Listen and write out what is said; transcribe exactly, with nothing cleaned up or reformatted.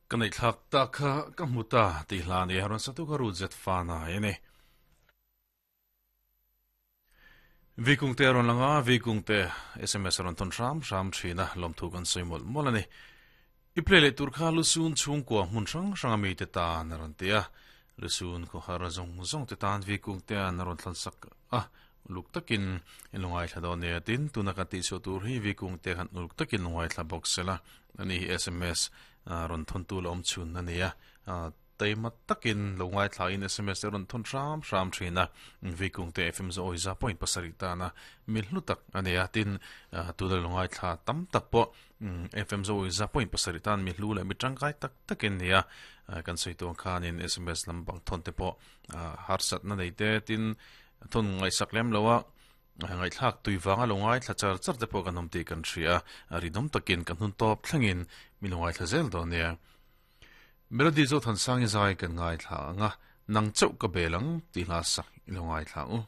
Ka nei thlak ta kha ka hmu ta tih hla ni a rawn satu ka rut zet fan a ni. Vikung te rawn lang a, Vikung te S M S rawn thawn hram hram thin a, lawmthu kan sawi mawlh mawlh a ni. I play leh tur kha Lusun chhungkua hmun hrang hrang a mite tan a rawn ti a, Lusun khawhar zawng zawng te tan Vikung te an rawn thlan sak a, uluk takin in lo ngaithla dawn nia. Tin, tuna kan tihchhuah tur hi Vikung te khan uluk takin lo ngaithla bawk sela, ani hi S M S rawn thawntu la awm chhun a ni a, taima takin lo ngaithlain S M S te rawn thawn hram hram thin a, Vikung te F M Zawi za point pasarih tana mi hlu tak a ni a. Tin, tuna lo ngaithla tam tak pawh F M Zawi za point pasarih tan mi hlu leh mi tangkai tak takin ni a. Kan sawi tuang khanin S M S lam bang thawn te pawh harsatna nei te, tin thun ngaihsak lem lo a, ngaihthlak tui vanga lo ngaithla char char te pawh kan awm tih kan hria a, rinawm takin kan hun tawp thlengin mi lo ngaithla zel dawn nia. Melody Zothansangi zai kan ngaithla anga, Nang chauh ka bel ang tih hla sak i lo ngaithla u.